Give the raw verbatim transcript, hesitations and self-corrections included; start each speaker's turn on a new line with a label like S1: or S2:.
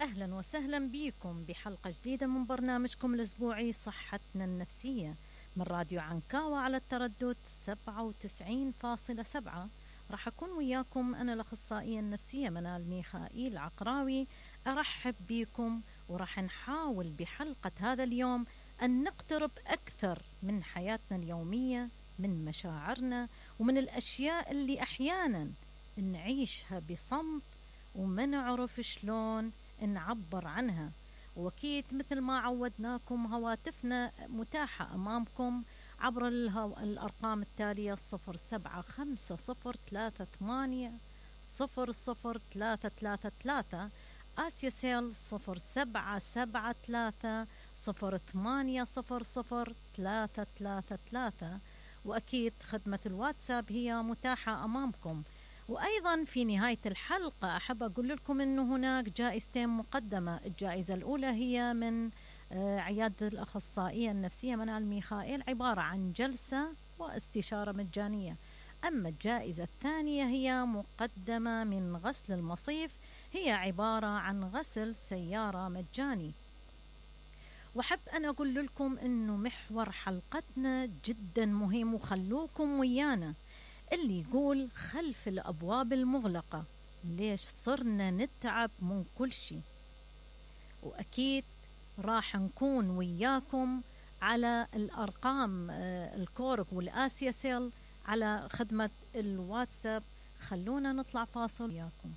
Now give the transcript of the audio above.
S1: أهلا وسهلا بكم بحلقة جديدة من برنامجكم الأسبوعي صحتنا النفسية من راديو عنكاوة على التردد سبعة وتسعين فاصلة سبعة. راح أكون وياكم أنا الأخصائية النفسية منال ميخائيل عقراوي. أرحب بكم وراح نحاول بحلقة هذا اليوم أن نقترب أكثر من حياتنا اليومية، من مشاعرنا ومن الأشياء اللي أحيانا نعيشها بصمت وما نعرف شلون نعبر عنها. وأكيد مثل ما عودناكم هواتفنا متاحة أمامكم عبر الهو... الأرقام التالية صفر سبعة خمسة صفر ثلاثة ثمانية صفر صفر ثلاثة ثلاثة ثلاثة، آسيا سيل صفر سبعة سبعة ثلاثة صفر ثمانية صفر صفر ثلاثة ثلاثة ثلاثة، وأكيد خدمة الواتساب هي متاحة أمامكم. وأيضا في نهاية الحلقة أحب أقول لكم أنه هناك جائزتين مقدمة. الجائزة الأولى هي من عيادة الأخصائية النفسية منال ميخائيل، عبارة عن جلسة واستشارة مجانية. أما الجائزة الثانية هي مقدمة من غسل المصيف، هي عبارة عن غسل سيارة مجاني. وحب أن أقول لكم أنه محور حلقتنا جدا مهم، وخلوكم ويانا، اللي يقول خلف الأبواب المغلقة ليش صرنا نتعب من كل شيء. وأكيد راح نكون وياكم على الأرقام الكورك والآسيا سيل على خدمة الواتساب. خلونا نطلع فاصل وياكم.